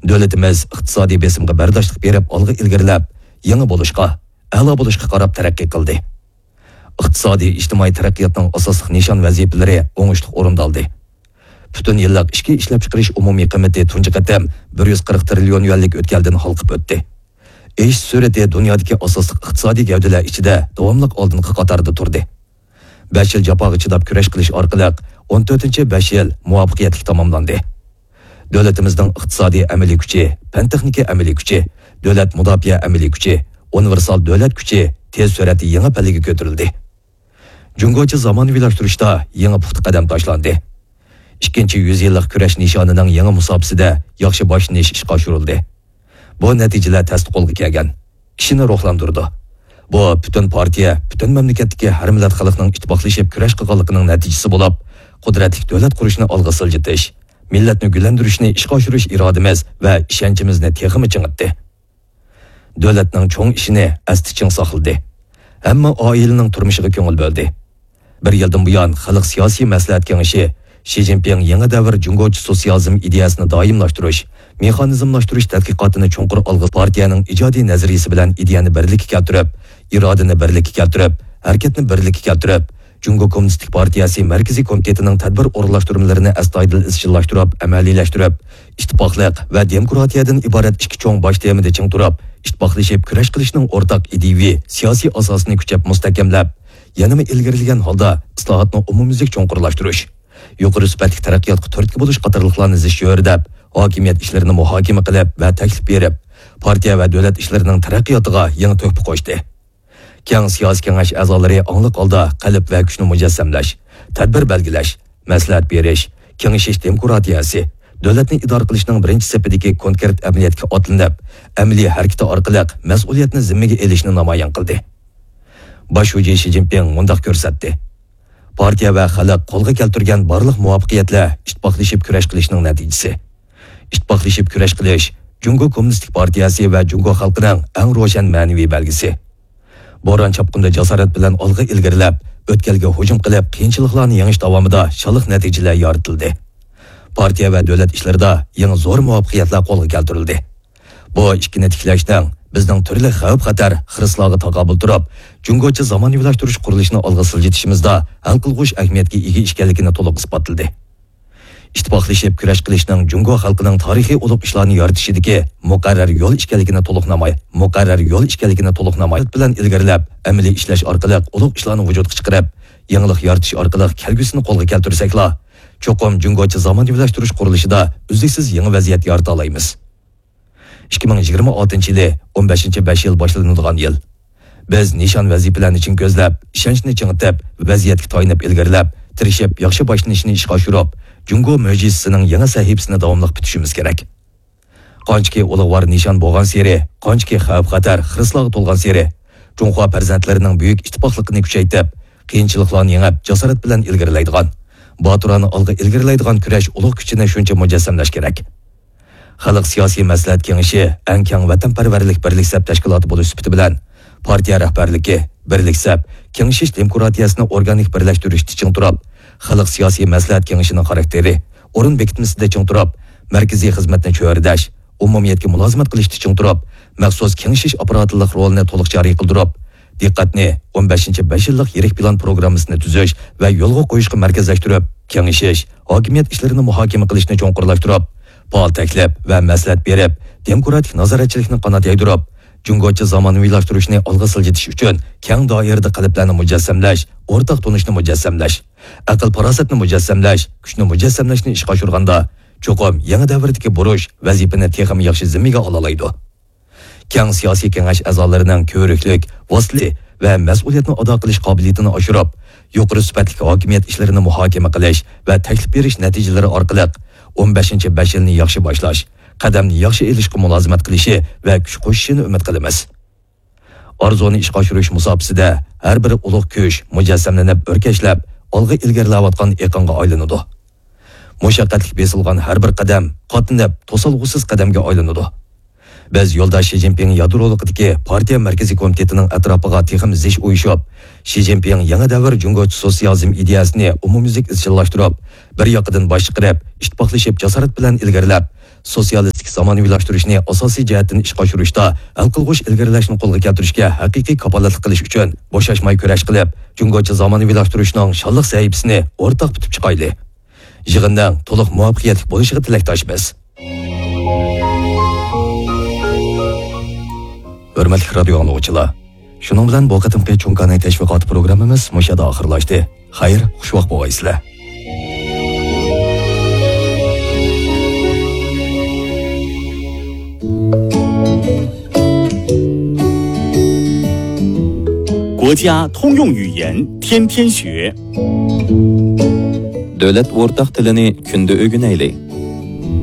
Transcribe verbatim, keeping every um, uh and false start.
دۆلىتىمىز ئىقتىسادىي بېسىمغا بەرداشلىق بېرىپ ئالغا ئىلگىرىلەپ، يېڭى بولۇشقا، ئەلا بولۇشقا قاراپ تەرەققىي قىلدى. ئىقتىسادىي ئىجتىمائىي تەرەققىياتنىڭ ئاساسلىق نىشان ۋەزىپىلىرى ئوڭۇشلۇق ئورۇندالدى. پۈتۈن يىللىق ئىچكى ئىشلەپچىقىرىش ئومۇمىي قىممىتى تۇنجى قېتىم بىر يۈز قىرىق تىرىليون يۈەنلىك ئۆتكەلدىن ھالقىپ ئۆتتى. ئېشىش سۈرئىتى دۇنيادىكى ئاساسلىق ئىقتىسادىي گەۋدىلەر ئىچىدە داۋاملىق ئالدىنقى قاتاردا تۇردى. بەش يىل جاپاغا چىداپ كۈرەش قىلىش ئارقىلىق ئون تۆتىنچى بەش يىل مۇۋەپپەقىيەتلىك تاماملاندى. دۆلىتىمىزنىڭ ئىقتىسادىي ئەمەلىي كۈچى، پەن-تېخنىكا ئەمەلىي كۈچى، دۆلەت مۇداپىئە ئەمەلىي كۈچى، ئۇنىۋېرسال دۆلەت كۈچى تېز سۈرئەتتە يېڭى پەللىگە كۆتۈرۈلدى. جۇڭگوچە زامانىۋىلاشتۇرۇشتا يېڭى پۇختا قەدەم تاشلاندى. ئىككىنچى يۈز يىللىق كۈرەش نىشانىنىڭ يېڭى مۇساپىسىدە ياخشى باشلىنىش ئىشقا ئاشۇرۇلدى. بۇ نەتىجىلەر تەستە قولغا كەلگەن، كىشىنى روھلاندۇرىدۇ. بۇ پۈتۈن پارتىيە، پۈتۈن مەملىكەتتىكى ھەر مىللەت خەلقنىڭ ئىتتىپاقلىشىپ كۈرەش قىلغانلىقىنىڭ نەتىجىسى بولۇپ، قۇدرەتلىك دۆلەت قۇرۇشنى ئالغا سىلجىتىش، مىللەتنى گۈللەندۈرۈشنى ئىشقا ئاشۇرۇش ئىرادىمىز ۋە ئىشەنچىمىزنى تېخىمۇ چىڭىتتى. دۆلەتنىڭ چوڭ ئىشىنى ئەستە چىڭ ساقلىدى. ھەممە ئائىلىنىڭ تۇرمۇشىغا كۆڭۈل بۆلدى. بىر يىلدىن بۇيان، خەلق سىياسىي مەسلىھەت كېڭىشى شى جىنپىڭ يېڭى دەۋر جۇڭگوچە سوتسىيالىزم ئىدىيەسىنى دائىملاشتۇرۇش، مېخانىزملاشتۇرۇش تەتقىقاتىنى چوڭقۇر ئالغا، پارتىيەنىڭ ئىجادىي نەزەرىيىسى بىلەن ئىدىيەنى بىرلىككە كەلتۈرۈپ، ئىرادىنى بىرلىككە كەلتۈرۈپ، ھەرىكەتنى بىرلىككە كەلتۈرۈپ، جۇڭگو كوممۇنىستىك پارتىيەسى مەركىزىي كومىتېتىنىڭ تەدبىر ئورۇنلاشتۇرمىلىرىنى ئەستايىدىل ئىزچىللاشتۇرۇپ، ئەمەلىيلەشتۈرۈپ، ئىتتىپاقلىق ۋە دېموكراتىيەدىن ئىبارەت ئىككى چوڭ باش تېمىدا چىڭ تۇرۇپ، ئىتتىپاقلىشىپ كۈرەش قىلىشنىڭ ئورتاق ئىدىيىۋى سىياسىي ئاساسىنى كۈچەپ مۇستەھكەملەپ، يەنىمۇ ئىلگىرىلىگەن ھالدا ئىسلاھاتنى ئومۇميۈزلۈك چوڭقۇرلاشتۇرۇش، يۇقىرى سۈپەتلىك تەرەققىياتقا تۈرتكە بولۇش قاتارلىقلارنى زىچ چۆرىدەپ، ھاكىمىيەت ئىشلىرىنى مۇھاكىمە قىلىپ ۋە تەكلىپ بېرىپ، پارتىيە ۋە دۆلەت ئىشلىرىنىڭ تەرەققىياتىغا يېڭى تۆھپە قوشتى. كەڭ سىياسىي كېڭەش ئەزالىرى ئاڭلىق ھالدا قەلب ۋە كۈچنى مۇجەسسەملەش، تەدبىر بەلگىلەش، مەسلىھەت بېرىش، كېڭىشىش دېموكراتىيەسى، دۆلەتنى ئىدارە قىلىشنىڭ بىرىنچى سېپىدىكى كونكرېت ئەمەلىيەتكە ئاتلىنىپ، ئەمەلىي ھەرىكىتى ئارقىلىق مەسئۇلىيەتنى زىممىگە ئېلىشنى نامايان قىلدى. باش شۇجى شى جىنپىڭ مۇنداق كۆرسەتتى: پارتىيە ۋە خەلق قولغا كەلتۈرگەن بارلىق مۇۋەپپەقىيەتلەر ئىتتىپاقلىشىپ كۈرەش قىلىشنىڭ نەتىجىسى. ئىتتىپاقلىشىپ كۈرەش قىلىش جۇڭگو كوممۇنىستىك پارتىيەسى ۋە جۇڭگو خەلقىنىڭ ئەڭ روشەن مەنىۋى بەلگىسى. بوران-چاپقۇندا جاسارەت بىلەن ئالغا ئىلگىرىلەپ، ئۆتكەلگە ھۇجۇم قىلىپ، قىيىنچىلىقلارنى يېڭىش داۋامىدا شانلىق نەتىجىلەر يارىتىلدى. پارتىيە ۋە دۆلەت ئىشلىرىدا يېڭى زور مۇۋەپپەقىيەتلەر قولغا كەلتۈرۈلدى. بۇ ئىككىنى تىكلەشنىڭ بىزنىڭ تۈرلۈك خەۋپ-خەتەر، خىرىسلارغا تاقابىل تۇرۇپ، جۇڭگوچە زامانىۋىلاشتۇرۇش قۇرۇلۇشىنى ئالغا سىلجىتىشىمىزدا ھەل قىلغۇچ ئەھمىيەتكە ئىگە ئىكەنلىكىنى تولۇق ئىسپاتلىدى. ئىتتىپاقلىشىپ كۈرەش قىلىشنىڭ جۇڭگو خەلقىنىڭ تارىخىي ئۇلۇغ ئىشلارنى يارىتىشىدىكى مۇقەررەر يول ئىكەنلىكىنى تولۇق ناماي-، مۇقەررەر يول ئىكەنلىكىنى تولۇق نامايان بىلەن ئىلگىرىلەپ، ئەمەلىي ئىشلەش ئارقىلىق ئۇلۇغ ئىشلارنى ۋۇجۇدقا چىقىرىپ، يېڭىلىق يارىتىش ئارقىلىق كەلگۈسىنى قولغا كەلتۈرسەكلا، چوقۇم جۇڭگوچە زامانىۋىلاشتۇرۇش قۇرۇلۇشىدا ئۈزلۈكسىز يېڭى ۋەزىيەت يارىتالايمىز. ئىككى مىڭ يىگىرمە ئالتىنچى يىلى ئون بەشىنچى بەش يىل باشلىنىدىغان يىل. بىز نىشان ۋەزىپىلەرنى چىڭ كۆزلەپ، ئىشەنچنى چىڭىتىپ، ۋەزىيەتكە تايىنىپ ئىلگىرىلەپ، تىرىشىپ ياخشى باشلىنىشنى ئىشقا ئاشۇرۇپ، جۇڭگو مۆجىزىسىنىڭ يېڭى سەھىپىسىنى داۋاملىق پۈتۈشىمىز كېرەك. قانچىكى ئۇلۇغۋار نىشان بولغانسېرى، قانچىكى خەۋپ-خەتەر، خىرىسلارغا تولغانسېرى، جۇڭخۇا پەرزەنتلىرىنىڭ بۈيۈك ئىتتىپاقلىقىنى كۈچەيتىپ، قىيىنچىلىقلارنى يېڭىپ، جاسارەت بىلەن ئىلگىرىلەيدىغان، باتۇرانە ئالغا ئىلگىرىلەيدىغان كۈرەش ئۇلۇغ كۈچىنى شۇنچە مۇجەسسەملەش كېرەك. خەلق سىياسىي مەسلىھەت كېڭىشى ئەڭ كەڭ ۋەتەنپەرۋەرلىك بىرلىك سەپ تەشكىلاتى بولۇش سۈپىتى بىلەن، پارتىيە رەھبەرلىكى بىرلىك سەپ، كېڭىشىش دېموكراتىيەسىنى ئورگانىك بىرلەشتۈرۈشتە چىڭ تۇرۇپ، خەلق سىياسىي مەسلىھەت كېڭىشىنىڭ خاراكتېرى، ئورۇن بېكىتمىسىدە چىڭ تۇرۇپ، مەركىزىي خىزمەتنى چۆرىدەش، ئومۇمىيەتكە مۇلازىمەت قىلىشتا چىڭ تۇرۇپ، مەخسۇس كېڭىشىش ئاپپاراتلىق رولىنى تولۇق جارى قىلدۇرۇپ، دىققەتنى ئون بەشىنچى بەش يىللىق يىرىك پىلان پروگراممىسىنى تۈزۈش ۋە يولغا قويۇشقا مەركەزلەشتۈرۈپ، كېڭىشىش، ھاكىمىيەت ئىشلىرىنى مۇھاكىمە قىلىشنى چوڭقۇرلاشتۇرۇپ، پائال تەكلىپ ۋە مەسلىھەت بېرىپ، دېموكراتىك نازارەتچىلىكنى قانات يايدۇرۇپ، جۇڭگوچە زامانىۋىلاشتۇرۇشنى ئالغا سىلجىتىش ئۈچۈن كەڭ دائىرىدە قەلبلەرنى مۇجەسسەملەش، ئورتاق تونۇشنى مۇجەسسەملەش، ئەقىل-پاراسەتنى مۇجەسسەملەش، كۈچنى مۇجەسسەملەشنى ئىشقا ئاشۇرغاندا، چوقۇم يېڭى دەۋردىكى بۇرچ، ۋەزىپىنى تېخىمۇ ياخشى زىممىگە ئالالايدۇ. كەڭ سىياسىي كېڭەش ئەزالىرىنىڭ كۆۋرۈكلۈك، ۋاسىتىلىك ۋە مەسئۇلىيەتنى ئادا قىلىش قابىلىيىتىنى ئاشۇرۇپ، يۇقىرى سۈپەتلىك ھاكىمىيەت ئىشلىرىنى مۇھاكىمە قىلىش ۋە تەكلىپ بېرىش نەتىجىلىرى ئارقىلىق ئون بەشىنچى بەش يىلنى ياخشى باشلاش، قەدەمنى ياخشى ئېلىشقا مۇلازىمەت قىلىشى ۋە كۈچ قوشۇشىنى ئۈمىد قىلىمىز. ئارزۇنى ئىشقا ئاشۇرۇش مۇساپىسىدە ھەر بىر ئۇلۇغ كۈچ مۇجەسسەملىنىپ، ئۆركەشلەپ، ئالغا ئىلگىرىلەۋاتقان ئېقىنغا ئايلىنىدۇ. مۇشەققەتلىك بېسىلغان ھەر بىر قەدەم قاتلىنىپ، توسالغۇسىز قەدەمگە ئايلىنىدۇ. بىز يولداش شى جىنپىڭ يادرولۇقىدىكى پارتىيە مەركىزىي كومىتېتىنىڭ ئەتراپىغا تېخىمۇ زىچ ئۇيۇشۇپ، شى جىنپىڭ يېڭى دەۋر جۇڭگوچە سوتسىيالىزم ئىدىيەسىنى ئومۇميۈزلۈك ئىزچىللاشتۇرۇپ، بىر ياقىدىن باش چىقىرىپ، ئىتتىپاقلىشىپ جاسارەت بىلەن ئىلگىرىلەپ، سوتسىيالىستىك زامانىۋىلاشتۇرۇشنى ئاساسىي جەھەتتىن ئىشقا ئاشۇرۇشتا ھەل قىلغۇچ ئىلگىرىلەشنى قولغا كەلتۈرۈشكە ھەقىقىي كاپالەتلىك قىلىش ئۈچۈن بوشاشماي كۈرەش قىلىپ، جۇڭگوچە زامانىۋىلاشتۇرۇشنىڭ شانلىق سەھىپىسىنى ئورتاق پۈتۈپ چىقايلى. يىغىننىڭ تولۇق مۇۋەپپەقىيەتلىك بولۇشىغا تىلەكداشمىز. ھۆرمەتلىك رادىيو ئاڭلىغۇچىلار، شۇنىڭ بىلەن بۇ قېتىمقى چۇڭكانەي تەشۋىقاتى پروگراممىمىز مۇشۇ يەردە ئاخىرلاشتى. خەير، خۇشۋاق بولغايسىلەر. گوجيا تۇڭيۇڭ يۈييەن تيەن تيەن شۈ. دۆلەت ئورتاق تىلىنى كۈندە ئۆگىنەيلى.